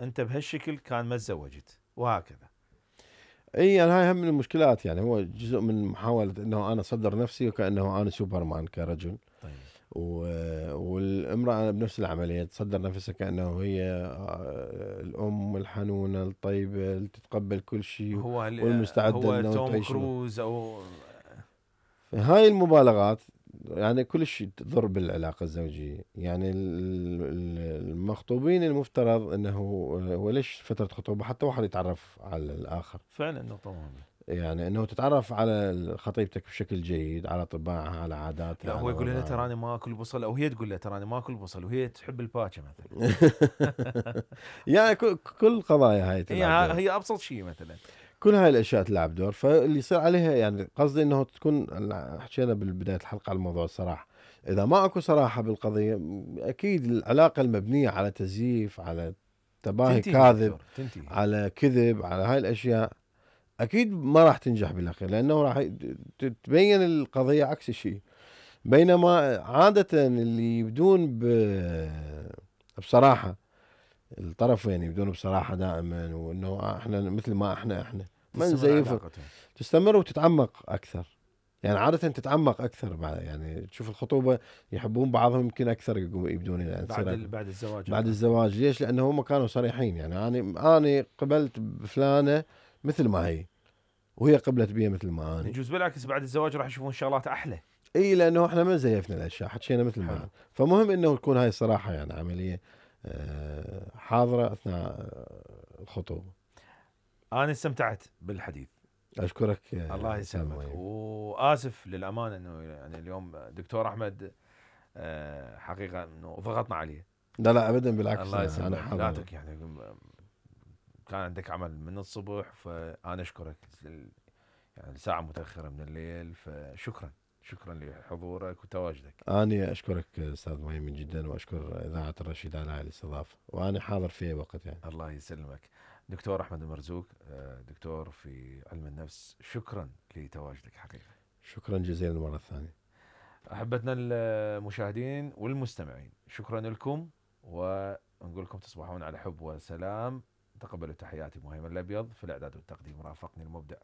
انت بهالشكل كان ما تزوجت، وهكذا. اي يعني هاي هم من المشكلات، يعني هو جزء من محاولة انه انا اصدر نفسي وكأنه انا سوبرمان كرجل. طيب. والامرأة بنفس العملية تصدر نفسها كأنه هي الأم الحنونة الطيبة اللي تتقبل كل شيء والمستعدة هو انه توم تعيش. كروز او هاي المبالغات يعني كل شيء تضر بالعلاقة الزوجية. يعني المخطوبين المفترض انه هو ليش فترة خطوبة حتى واحد يتعرف على الآخر. فعلا نقطة مهمة. يعني انه تتعرف على خطيبتك بشكل جيد، على طباعها، على عاداتها. لا، هو على يقول لها وضعها. تراني ما اكل بصل، او هي تقول له تراني ما اكل بصل وهي تحب الباكه مثلا. يعني كل قضايا هاي تلعب دور. هي ابسط شيء مثلا. كل هاي الاشياء تلعب دور. فاللي يصير عليها، يعني قصدي انه تكون، حكينا بالبدايه الحلقه على موضوع الصراحه. اذا ما اكو صراحه بالقضيه اكيد العلاقه المبنيه على تزييف، على تباهي كاذب، تنتهي. على كذب، على هاي الاشياء اكيد ما راح تنجح بالاخير، لانه راح تبين القضيه عكس الشيء. بينما عاده اللي يبدون بصراحه، الطرفين يبدون بصراحه دائما، وانه احنا مثل ما احنا ما نزيف، تستمر وتتعمق اكثر. يعني عاده تتعمق اكثر يعني تشوف الخطوبه يحبون بعضهم يمكن اكثر، يبدون يعني بعد الزواج. بعد الزواج. ليش؟ لانه هم كانوا صريحين، يعني انا قبلت بفلانه مثل ما هي، وهي قبلت بي مثل ما انا. يجوز بالعكس بعد الزواج راح يشوفون شغلات احلى. اي لانه احنا ما زيفنا الاشياء، حكينا مثل ما حلو. أنا. فمهم انه تكون هاي الصراحه يعني عمليه حاضره اثناء الخطوبه. انا استمتعت بالحديث. اشكرك الله استاذ يسلمك، مهيب. واسف للامانه انه يعني اليوم دكتور احمد حقيقه انه ضغطنا عليه. لا لا ابدا بالعكس، الله انا يسلمك، لا حاضر. يعني كان عندك عمل من الصبح، فانا اشكرك يعني ساعه متاخره من الليل، فشكرا شكرا لحضورك وتواجدك. أنا أشكرك أستاذ مهم جدا، وأشكر إذاعة الرشيد على هاي الاستضافة، وأنا حاضر في أي وقت يعني. الله يسلمك. دكتور احمد المرزوق، دكتور في علم النفس، شكرا لتواجدك حقيقه. شكرا جزيلا مرة ثانية. احبتنا المشاهدين والمستمعين، شكرا لكم، ونقول لكم تصبحون على حب وسلام. تقبلوا تحياتي مهيمن الابيض، في الاعداد والتقديم رافقني المبدع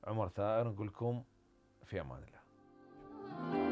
عمر ثائر. نقول لكم في امان الله.